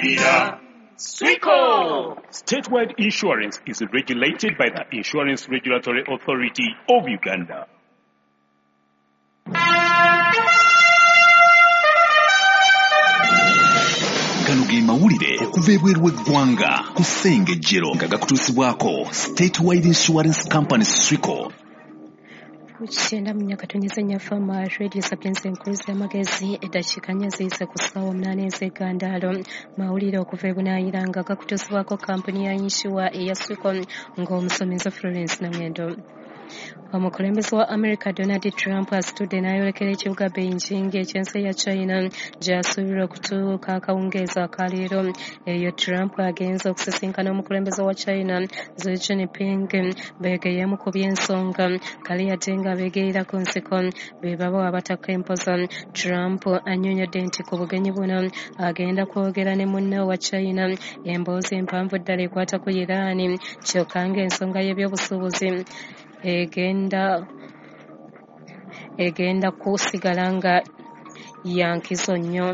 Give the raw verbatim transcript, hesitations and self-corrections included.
Tukulabirira. Swico! Statewide Insurance is regulated by the Insurance Regulatory Authority of Uganda. Gano ge mawulire okuva ebweru w'eggwanga ku Ssengejjero nga gakutuusibwako Statewide Insurance Company Swico. Kyenda mu Nyakatonyeza Nyafama Radio Sapienza enkuluzi y'amagezi. Eddakiika nnya ziyise ku ssaawa munaana ez'eggandaalo. Mawulire okuva e Bunaayira nga gakutuusibwako kampuni ya yinsuwa eya Swico, ng'omusomesa Florence Nangendo. Omukulembeze wa America Donald Trump asitudde n'ayolekera ekibuga Beijing eky'ensi ya China, gy'asuubirwa okutuuka akawungeezi akaleero. Eyo Trump agenze okusisinkana omukulembeze wa China Xi Jinping, beegeyemu ku by'ensonga. Kale yadde nga beegeyera ku nsiko, be babo abataka empoza. Trump annyonnyodde nti ku bugenyi buno agenda kwogera ne munne wa China emboozi empanvu ddala ekwata ku Iran, kyokka ng'ensonga y'ebyobusuubuzi egenda egenda kusigala nga ya nkizo nnyo.